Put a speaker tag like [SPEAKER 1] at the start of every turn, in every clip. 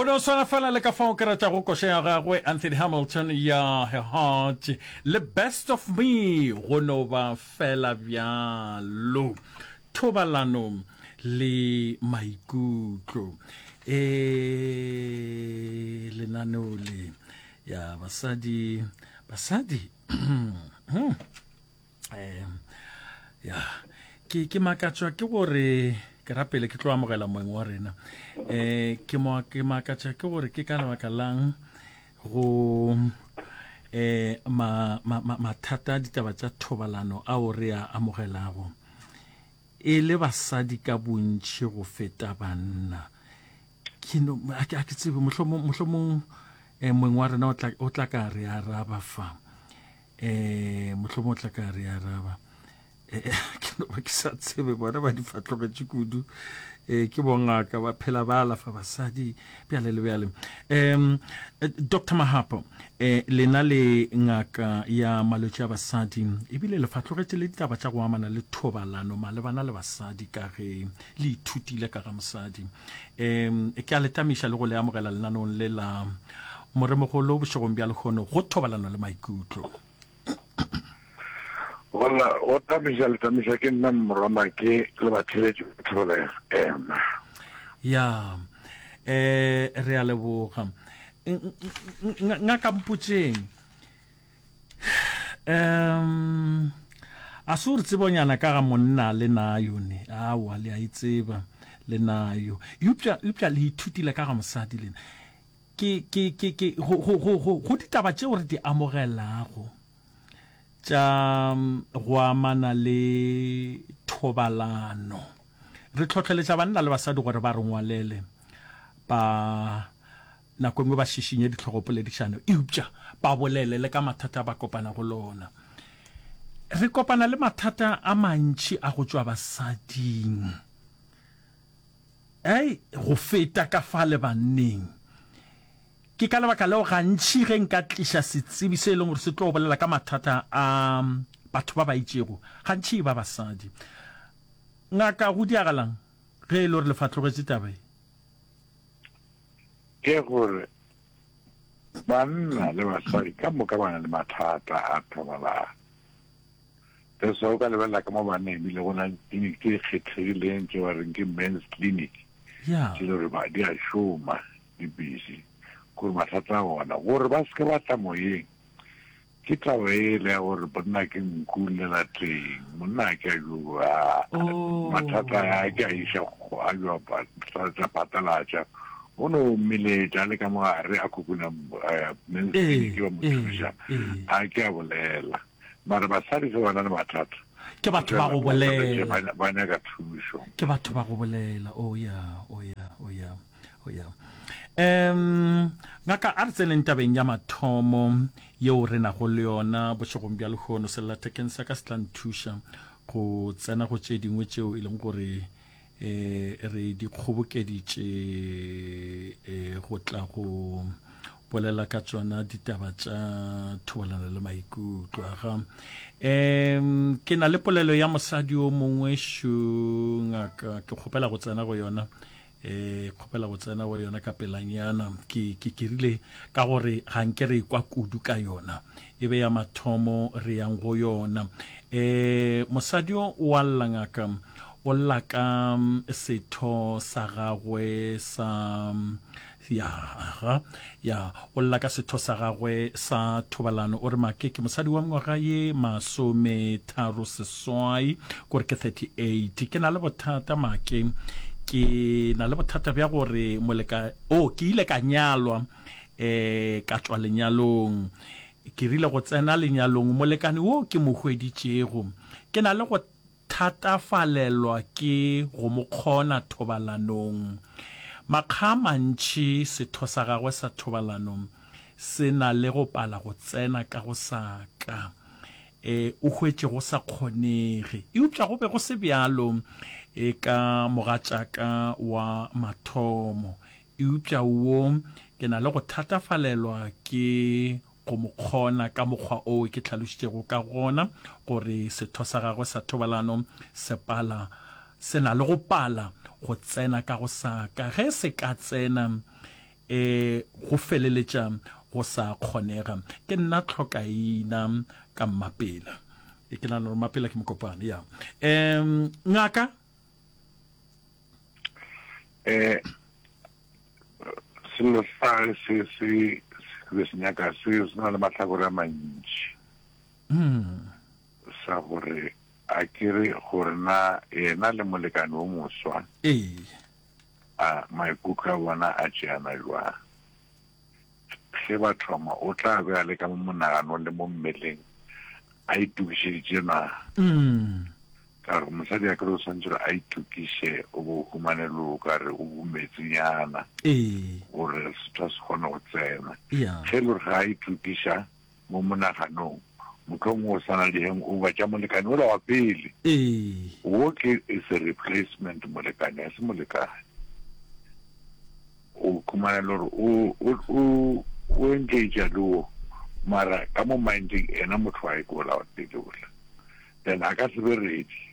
[SPEAKER 1] no swana fela le ka fao ke ratago koša ya gagwe Anthony Hamilton ya Her Heart le Best of Me, go no ba fela bjalo. Thobalano le maikutlo. E lenaneo le ya basadi, basadi. Hmm. Um ya ke ke makatšwa ke gore ke rapele ke tlo amogela moeng wa rena um ke mo ke makatšwa ke gore ke ka lebaka lang go um ma, ma, ma, mathata a ditaba tša thobalano ao re a amogelago e le basadi ka bontši go feta banna ke no a ke tsebe mohlomong mohlomong um moeng wa rena o tla ka re araba fa um mohlomong o tla ka re araba eh, ke no ba ke sa tsebe bona ba di fatlogetše kudu um ke bongaka ba phela ba alafa basadi bjale le bjale um dr mahapo um lena le ngaka ya malwetši a basadi ebile le fatlogetše le ditaba tša go amana le thobalano malebana le basadi ka ge le ithutile ka ga mosadi um ke a le tamiša le go le amogela lenaneong le la moremogolo bošegong bja lehono go thobalano le maikutlo.
[SPEAKER 2] Gola go tamiša le tamiša ke nna morwa Make le batheletši ba Thobela FM.
[SPEAKER 1] Ya eh re a leboga. Ngaka mpotšeng Um a se gore tsebonyana ka ga monna le nayo ne awa le a e tseba le nayo eupša eupša le ithutile ka ga mosadi lena ke ke ke ke go go go go go ditaba tšeo re di amogelago tša go amana le thobalano re tlhotlheletša banna le basadi gore ba re ngwalele ba Nako e nngwe ba šišinye dihlogopoledišano eupša ba bolele le ka mathata a ba kopanago le ona. Re kopana le mathata a mantši a go tšwa basading ei go feta ka fa le banneng. Ke ka lebaka leo gantši ge nka tliša setsebi se e leng gore se tlo bolela ka mathata a batho ba ba itšego, gantši e ba basadi. Ngaka, go diagalang ge e le gore le fatlogetše taba ye?
[SPEAKER 2] Ke gore banna le basadi ka moka ba na le mathata a thobalano. That's why o ka lebelela ka mo banneng ebile go na le clinic tse kgethegileng tse ba reng ke men's clinic.
[SPEAKER 1] Yeah.
[SPEAKER 2] Tse le gore ba di a šoma di busy gore mathata a bona gore ba seke ba tla moyeng. Ke taba ele ya gore monna ke nku llela teng monna a ke a jo a
[SPEAKER 1] Oh.
[SPEAKER 2] mathata a ke a iša a jo a phatlalatša o no mmeletša a le ka mo gare a khukhuna eh, men's
[SPEAKER 1] Ee,
[SPEAKER 2] clinic ba mo
[SPEAKER 1] ee,
[SPEAKER 2] thuša
[SPEAKER 1] ee.
[SPEAKER 2] a ke a bolela mara basadi ge ba na le mathata
[SPEAKER 1] Ke batho ba go bolela.
[SPEAKER 2] ba ba nyaka thušo
[SPEAKER 1] Ke batho ba go bolela. Oh yeah, oh yeah, oh yeah. Oh yeah. Um ngaka a re tseneng tabeng ya mathomo yeo re nago le yona bošegong bja lehono. Sellathekeng sa ka se tla nthuša go tsena go tše dingwe tšeo e leng gore eh re di kgobokeditše eh go tla go bolela ka tšona ditaba tša thobalano le maikutlo aga um ke na le polelo ya mosadi o mongwe šo ngaka ke kgopela go tsena go yona E, kgopela go tsena go yona ka pelanyana. Ke, ke, ke rile ka gore ga nke re kwa kudu ka yona. E be ya mathomo re yang go yona. E, mosadi o o a lla ngaka, o lla ka setho sa gagwe sa, ya, aha, ya, o lla ka setho sa gagwe sa thobalano. O re, Make, ke mosadi wa mengwaga ye masometharo seswai, kore ke 38. Ke na le bothata, Make. Ke na le bothata bja gore moleka, oh, ke ile ka nyalwa, eh, ka tšwa lenyalong. Ke rile go tsena lenyalong, molekane wo ke mo hweditšego, ke na le go thatafalelwa ke go mo kgona thobalanong. Makga a mantši setho sa gagwe sa thobalano se na le go pala go tsena ka go sa ka. E, o hwetše go sa kgonege. Eupša go be go se bjalo e ka mogatšaka wa mathomo. Eupša wo ke na le go thatafalelwa ke go mo kgona ka mokgwa oo ke hlalošitšego ka gona gore setho sa gagwe sa thobalano se pala, se na le go pala go tsena ka go sa ka. Ge se ka tsena, E, go feleletša go sa kgonega. Ke nna tlhokaina ka Mmapela. E, ke nagana gore Mmapela ke Mokopane, ya. Um, ngaka?
[SPEAKER 2] Eh, selo sa se se se se nyaka se se na le mahlakore a mantši.
[SPEAKER 1] Mm.
[SPEAKER 2] Sa gore a ke re gore na yena le molekane o moswa.
[SPEAKER 1] Ee.
[SPEAKER 2] A maikutlo a bona a tšeana bjang? Ge ba thoma, o tla be a le ka mo monaganong le mo mmeleng a itokišeditše na? Ka gore mosadi a kere o swanetše gore a itokiše, o bo o humane le o ka re o bumetsenyana gore setho se kgone go tsena. Ge e le gore ga a itokiša, mo monaganong, mohlomongwe o sa na le di-hangover tša molekane ola wa pele.
[SPEAKER 1] Ee.
[SPEAKER 2] Wo ke is a replacement molekane, ga se molekane. O khumana le gore o, o, o, o engage le wo, mara ka mo mindeng ena motho wa ke ola wa pele ola. Then a ka se be ready.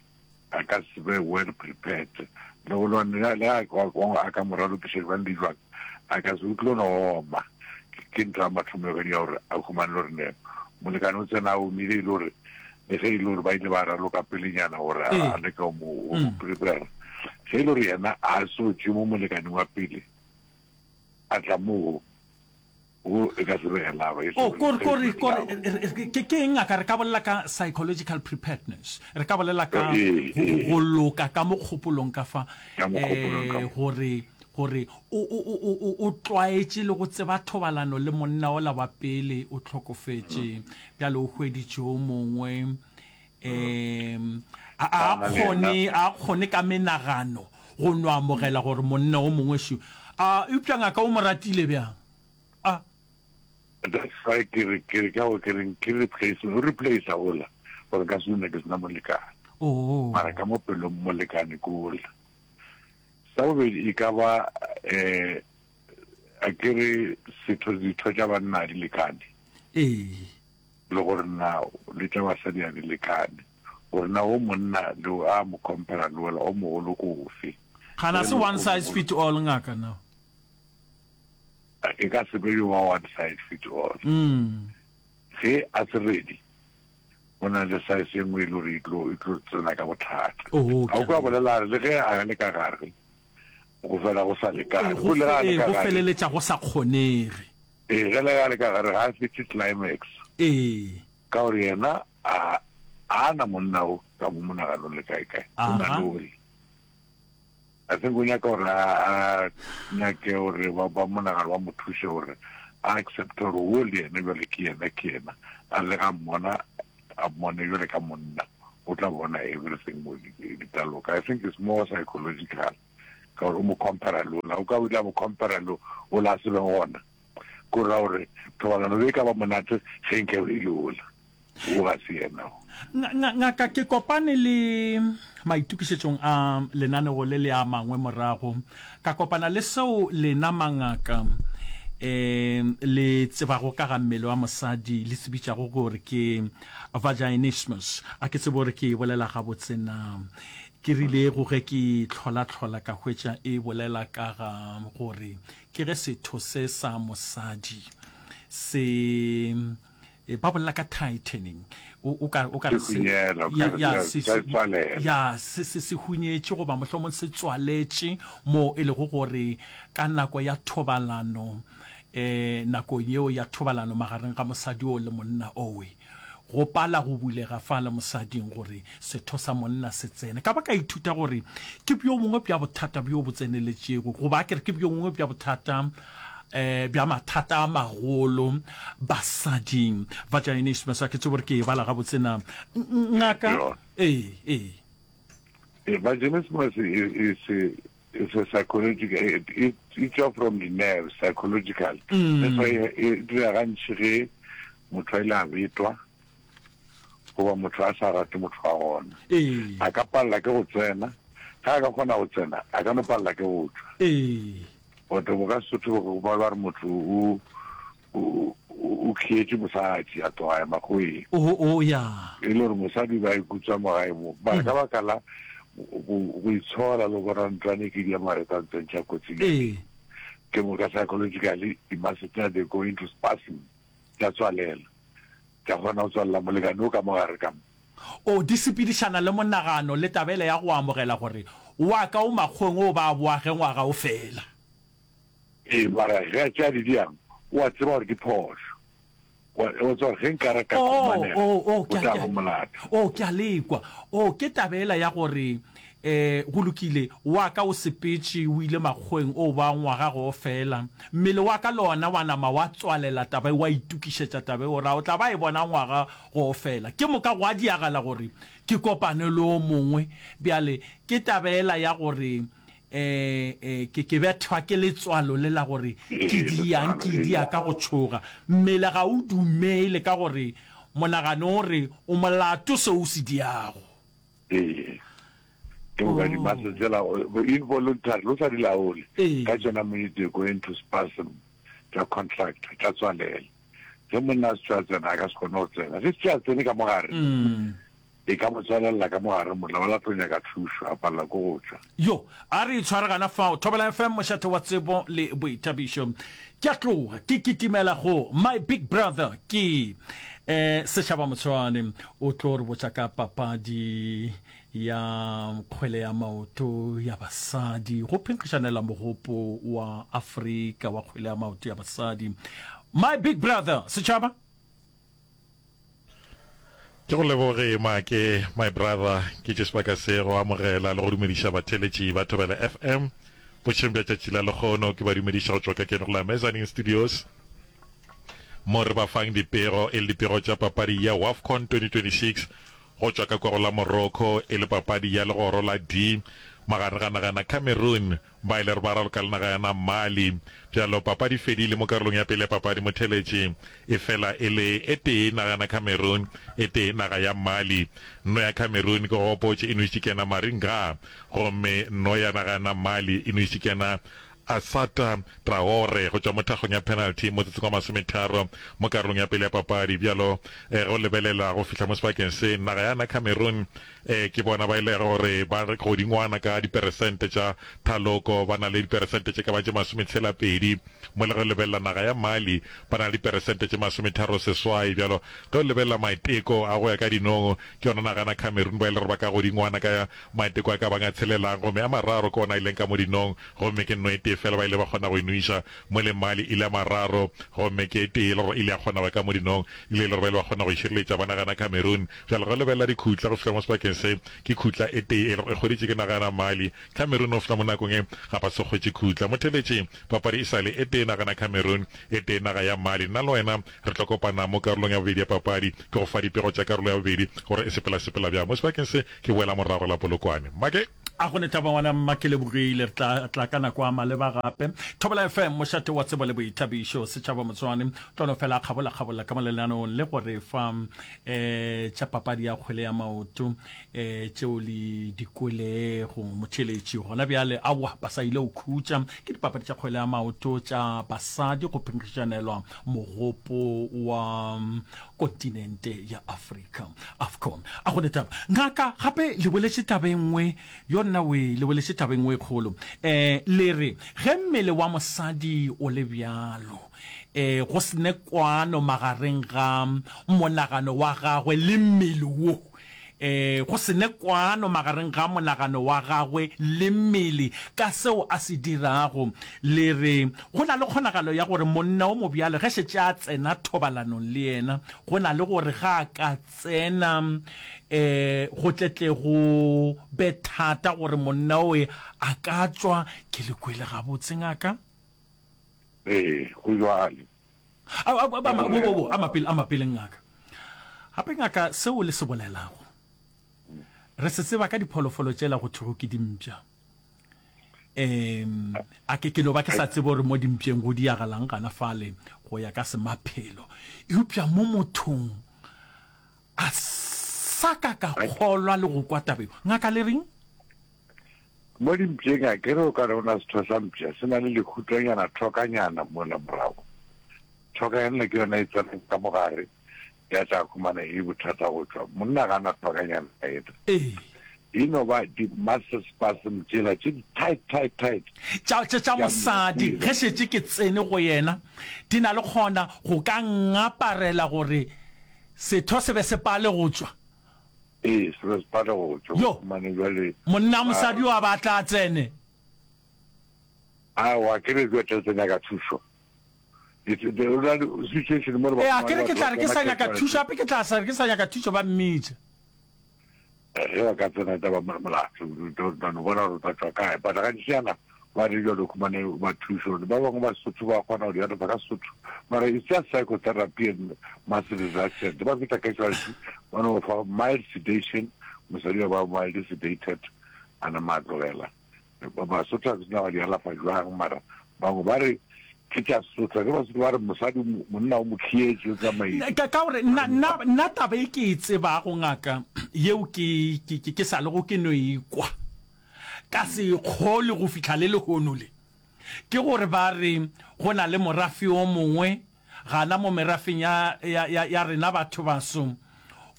[SPEAKER 2] a ka se be well prepared le go lwane le le a a ka mo ralokiša jwang le jwang a ka se o tlo no oma ke ntho ya mathomo ya gore a humane gore ne molekane o tsena a omile e le gore le ge e le gore ba ile ba raloka pelenyana gore a leke go mo mm. prepare ge e le gore yena a so tšwe mo molekaneng wa pele a tla moo Wo e ka se be lava. E
[SPEAKER 1] oh, kore, kore, kore, ke, ke eng ngaka? Re ka bolela ka psychological preparedness. Re ka bolela ka go loka ka mo kgopolong ka fa. Eh, gore, gore o, o, o, o, o tlwaetše le go tseba thobalano le monna ola wa pele o hlokofetše. Bjale o hweditše o mongwe. Um, a, a kgone, a kgone ka menagano go no amogela gore monna o mongwe šo. A, eupša ngaka o mo ratile bjang? A.
[SPEAKER 2] That's why ke re, ke re ka go ke reng ke replacement, o replace ola gore nka se dule ke sena molekane.
[SPEAKER 1] Oh.
[SPEAKER 2] Mara ka mo pelong molekane ke ola. Sa bobedi e ka ba eh a ke re setho ditho tša banna di lekane.
[SPEAKER 1] Ee.
[SPEAKER 2] Le gore na le tša basadi a di lekane. Gore na o monna le a mo compare le ola o mogolo ko ofe.
[SPEAKER 1] Gana se one size fit all ngaka na.
[SPEAKER 2] E ka se be yo wa one size fit all. Ge a se ready, go na le size e nngwe e le gore e tlo e tlo tsena ka bothata.
[SPEAKER 1] A
[SPEAKER 2] o kwa bolela re le ge a le ka gare go fela go sa lekane. Go le ga le ka
[SPEAKER 1] gare. Go feleletša go sa kgonege.
[SPEAKER 2] Ee, ge le ga le ka gare ga a fihle climax.
[SPEAKER 1] Ee.
[SPEAKER 2] Ka gore yena a a na monna o ka mo monaganong le kae kae. O na le ole. I think o nyaka gore a nyake gore ba ba monagano ba mo thuse gore a accept gore wo le yena jwale ke yena ke yena a le ga mmona a mmone jwale ka monna o tla bona everything mo di tla loka. I think it's more psychological ka gore o mo compare le ola o ka o ile a mo compare le ola a se beng gona ko ra gore thobalano be e ka ba monate ge nke e le ola. Wo ga se yena wo.
[SPEAKER 1] Ngaka, ke kopane le maitokišetšong a lenanego le le a mangwe morago, ka kopana le seo lena mangaka um le tsebago ka ga mmele wa mosadi le se bitšago gore ke vaginismus. A ke tsebe gore ke e bolela gabotse na. Ke rile go ge ke hlolahlola ka hwetša e bolela ka ga gore ke ge setho se sa mosadi se E, ba bolela ka tightening. O, o ka, o ka re
[SPEAKER 2] se, hunyela,
[SPEAKER 1] ya, ya,
[SPEAKER 2] se, se,
[SPEAKER 1] tswalela. Ya, se, se, se hunyetše goba mohlomong se tswaletše mo e lego gore ka nako ya thobalano, eh, nakong yeo ya thobalano magareng ga mosadi oo le monna owe, go pala go bulega fale mosading gore setho sa monna se tsene. Ka ba ka ithuta gore ke bjo bongwe bja bothata bjo bo tseneletšego, goba a ke re ke bjo bongwe bja bothata eh, bja mathata a magolo basading. Vaginismus, a ke tsebe gore ke e bala gabotse na. Ngaka, ee, ee.
[SPEAKER 2] Eh, vaginismus is, is, is a psychological, it, it, it's from the nerves, psychological. Mm. That's why e dira gantši ge motho a ile a betwa goba motho a sa rate motho wa gona.
[SPEAKER 1] Ee.
[SPEAKER 2] A ka palela ke go tsena, ge a ka kgona go tsena, a ka no palela ke go tšwa.
[SPEAKER 1] Ee.
[SPEAKER 2] Batho bo ka Sesotho bo ba ba re motho o o o khietše mosadi a tloga ya makgoweng.
[SPEAKER 1] O o ya.
[SPEAKER 2] E le gore mosadi ba ikutswa mo gae mo. Mara ka baka la go go itshola le go bona ntlwane ke di ya mare tsa ntsentšha kotsing.
[SPEAKER 1] Ee.
[SPEAKER 2] Ke moka psychologically di-muscle tša they go into spasm, tša tswalela, tša kgona go tswalela molekane o ka mo gare ka mo.
[SPEAKER 1] O di sepedišana le monagano le taba yela ya go amogela gore wa ka o makgoweng o ba boa ge ngwaga o fela.
[SPEAKER 2] Ee, mara ge a tšea di diang, o a tseba gore ke phošo. O a tseba gore ge nka re ka
[SPEAKER 1] Oh,
[SPEAKER 2] khumanega,
[SPEAKER 1] oh, oh,
[SPEAKER 2] o
[SPEAKER 1] ke a,
[SPEAKER 2] tla
[SPEAKER 1] ke
[SPEAKER 2] ba
[SPEAKER 1] a,
[SPEAKER 2] molato.
[SPEAKER 1] oh, ke a le kwa. Oh, ke taba yela ya gore, eh, go lokile, wa ka o sepetše, o ile makgoweng, o ba ngwaga go o fela. Mmele wa ka le ona wa nama wa tswalela taba e, wa itokišetša taba e, o ra o tla ba e bona ngwaga go o fela. Ke moka gwa diagala gore ke kopane le o mongwe. Bjale, ke taba yela ya gore, eh, eh, ke, ke bethwa ke letswalo le la gore ke diang, ke dia ka go tšhoga. Mmele ga o dumele ka gore monagano o re o molato seo o se diago.
[SPEAKER 2] Ee. Ke moka di-muscle tsela involuntary, o sa di laole. Ka tšona minute they go into spasm, tša contract, tša tswalela. Ge monna a se tšwa tsena, a ka se kgone go tsena. Ge se tšwa tsene ka mogare, E ka mo tswalelela ka mo gare mola wa la tlo nyaka thušo, a palela ke go tšwa.
[SPEAKER 1] Yo, a re itshware gana fao. Thobela FM, mošate wa tsebo le boithabišo. Ke a tloga, ke kitimela go my big brother, ke eh, Sešaba Motshwane. O tlo re botša ka papadi ya kgwele ya maoto ya basadi, go phenkgišanela mogopo wa Afrika wa kgwele ya maoto ya basadi. My big brother, Setšhaba.
[SPEAKER 3] Ke go leboge Make, my brother, ke tše sebaka se go amogela le go dumediša batheeletši ba Thobela FM bošegong bja tšatši la lekgono. Ke ba dumediša go tšwa ka keno go la Mezzanine Studios mo re ba fang dipego e le dipego tša papadi ya WAFCON 2026 go tšwa ka kwa go la Morocco e le papadi ya legoro la D magareng ga naga ya Cameroon Ba ile re ba raloka le naga ya na Mali. Bjalo papadi fedile mo karolong ya pele ya papadi motheletši e fela e le e tee naga ya na Cameroon e tee naga ya Mali. Nno ya Cameroon ke go gopotše e nwešitše ke yena Marie Nga gomme nno ya naga ya na Mali e nwešitše ke yena Assata Traore go tšwa mo thakgong ya penalty motsotsong wa masometharo mo karolong ya pele ya papadi. Bjalo ge o lebelela go fihla mo sebakeng se naga ya na Cameroon Ee, ke bona ba e lego gore ba godingwana ka diperesente tša thaloko, ba na le diperesente tše ka ba tše masometshela-pedi, mo le ge o lebelela naga ya Mali, ba na le diperesente tše masometharoseswai. Bjalo, ge o lebelela maiteko a go ya ka dinong, ke yona naga na Cameroon ba e le gore ba ka godingwana ka maiteko a ka bang a tshelelang, gomme a mararo ke ona a ileng ka mo dinong, gomme ke nno e tee fela ba ile ba kgona go e nwiša, mo le Mali e le a mararo, gomme ke e tee e le gore e ile ya kgona go ya ka mo dinong, e le e le gore ba ile ba kgona go e šireletša ba naga na Cameroon. Bjale ge o lebelela dikhutla go fihla mo sebakeng se, ke khutla e tee e lego e hweditše ke naga ya Mali. Cameroon go fihla mo nakong ye ga ba so hwetše khutla. Motheeletši, papadi e sa le e tee naga na Cameroon, e tee naga ya Mali. Nna le wena re tlo kopana mo karolong ya bobedi ya papadi. Ke go fa dipego tša karolo ya bobedi gore e sepela-sepela bjang. Mo sebakeng se ke boela morago la Polokwane. Make!
[SPEAKER 1] A go ne taba ngwana mma ke lebogile re tla tla ka nako a maleba gape. Thobela FM mošate wa tsebo le boithabišo setšhaba Motswane tlo no fela a kgabola kgabola ka mo lenaneong le go re fa eh tša papadi ya kgwele ya maoto eh tšeo le di kwelego motheeletši gona bjale aowa ba sa ile go khutša ke dipapadi tša kgwele ya maoto tša basadi go phenkgišanelwa mogopo wa kontinente ya Afrika, AFCON. A go ne taba. Ngaka, gape le boletše taba e nngwe, yo nna we, le boletše taba e nngwe e kgolo. Eh, le re, ge mmele wa mosadi o le bjalo, eh, go se ne kwano magareng ga monagano wa gagwe le mmele wo, eh, go se ne kwano magareng ga monagano wa gagwe le mmele ka seo a se dirago. Le re, Go na le kgonagalo ya gore monna o mobjalo ge šetše a tsena thobalanong le yena, go na le gore ge a ka tsena eh, go tle tle go be thata gore monna oe a ka tšwa. Ke le kwele gabotse, ngaka?
[SPEAKER 2] Ee, go bjalo.
[SPEAKER 1] A, a, a, a, bo, bo, bo, a mapele, a mapele, ngaka. Gape, ngaka, seo le se bolelago, re se tseba ka dipholofolo tšela go thwego ke dimpša. Um, a ke, ke no ba ke sa tsebe gore mo dimpšeng go diagalang gana fale go ya ka semaphelo. Eupša mo mothong a sa ka ka kgolwa le go kwa taba eo. Ngaka le reng?
[SPEAKER 2] Mo dimpšeng a ke re o ka re o na setho sa mpša se na le lehutonyana thokanyana mola morago. Thokanyana ke yona e tsenang ka mogare ya tla khumana e bothata go tšwa. Monna ga na thokanyana ena.
[SPEAKER 1] Ee.
[SPEAKER 2] E no ba di-muscle spasm tšela tše di tight, tight, tight.
[SPEAKER 1] Tša, tša, tša mosadi, ge šetše ke tsene go yena, di na le kgona go ka ngaparela gore setho se be se pale go tšwa.
[SPEAKER 2] Ee, se be se pale go tšwa.
[SPEAKER 1] Yo,
[SPEAKER 2] Mane bjale,
[SPEAKER 1] monna mosadi yo a ba tla tsene.
[SPEAKER 2] Aowa, ke re bjale tla nyaka thušo. Situation mo re ba
[SPEAKER 1] Ee, a ke re ke tla re ke sa nyaka thušo, gape ke tla sa re ke sa nyaka thušo ba mmitša.
[SPEAKER 2] Ge ba ka tsena taba molato, o tla no bona gore o tla tšwa kae. But gantši yana ba re jalo khumane ba thušo, ba bangwe ba Sotho ba kgona go di alafa ka Sotho. Mara it's just psychotherapy and muscle relaxant. Ba fihla casualty, ba no fa mild sedation, mosadi wa ba mild sedated, a nama a tlogela. Basotho ga ke tsebe ba di alafa jwang, mara bangwe ba re ke tša Sesotho. Ke Basotho ba re mosadi monna o mo khietše o tsamaile.
[SPEAKER 1] Ka ka gore nna nna nna taba e ke e tsebago ngaka yeo ke ke ke sa lego ke no e kwa ka se e kgolwe go fihla le lehono le ke gore ba re go na le morafe o mongwe gana mo merafeng ya ya ya ya rena batho baso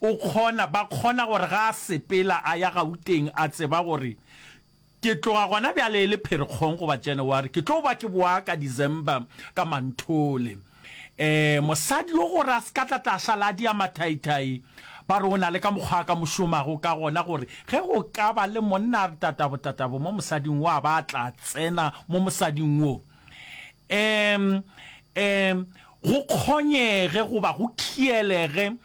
[SPEAKER 1] o kgona ba kgona gore ga a sepela a ya Gauteng a tseba gore ke tloga gona bjale e le Pherekgong goba January ke tlo ba ke boa ka December ka Manthole eh mosadi yo gore a se ka tla tla šala a dia mathaithai ba re o na le ka mokgwa a ka mo šomago ka gona gore ge go ka ba le monna a re tatabo tatabo mo mosading wo a ba tla tsena mo mosading wo um um go kgonyege goba go khielege,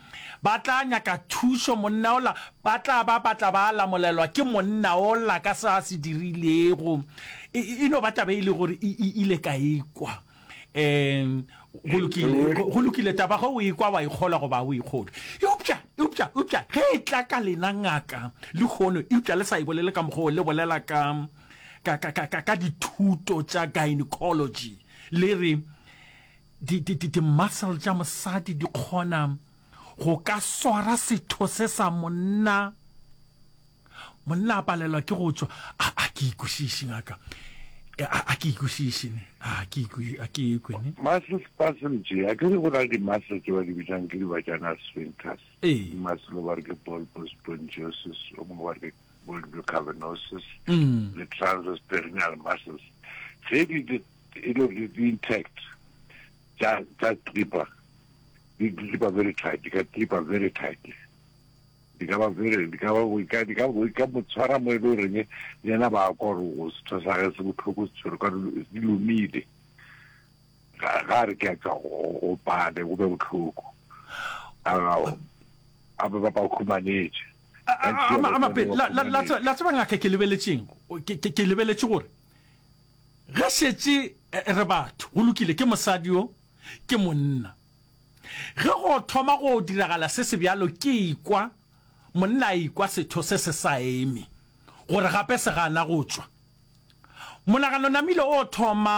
[SPEAKER 1] ba tla nyaka thušo, monna ola, ba tla ba ba tla ba lamolelwa ke monna ola ka se a se dirilego. E, e, e no ba taba e le gore e, e ile ka e kwa. Um go lokile, go lokile, taba ge o e kwa wa e kgolwa goba o e kgolwe. Eupša, eupša, eupša, ge e tla ka lena ngaka lehono, eupša le sa e bolele ka mokgwa o, le bolela ka, ka, ka, ka, ka, ka dithuto tša gynecology, le re di, di, di, di-muscle tša mosadi di kgona go ka swara setho se sa monna, monna a palelwa ke go tšwa. A, a ke ikwešiše, ngaka. E, a, a ke ikwešiše, ne. A ke ikwe, a ke ikwe, ne.
[SPEAKER 2] Muscle spasm tše, a ke re go na le di-muscle tše ba di bitšang ke di-vaginal sphincters.
[SPEAKER 1] Ee.
[SPEAKER 2] Muscle ba re ke bulbospongiosus, o mongwe ba re ke bulbocavernosus mm. le transverse perineal muscles ge di di e le di di intact tša tša clipper di clipper very tight di ka clipper very tightly di ka ba very di ka ba di ka di ka di ka mo tshwara mo e le goreng le yena ba kwa gore o setho sa ge se bohloko se tshwere ka di lomile ga ga re ke a tšwa go pale go be bohloko a a ba ba khumanetše
[SPEAKER 1] La tseba ngaka ke lebeletšeng? Ke lebeletše gore ge šetše eh, re batho, go lokile, ke mosadi yo, ke monna. Ge go thoma go diragala se se bjalo, ke ikwa monna a ikwa setho se se sa eme, gore gape se gana go tšwa. Monagano namile o thoma.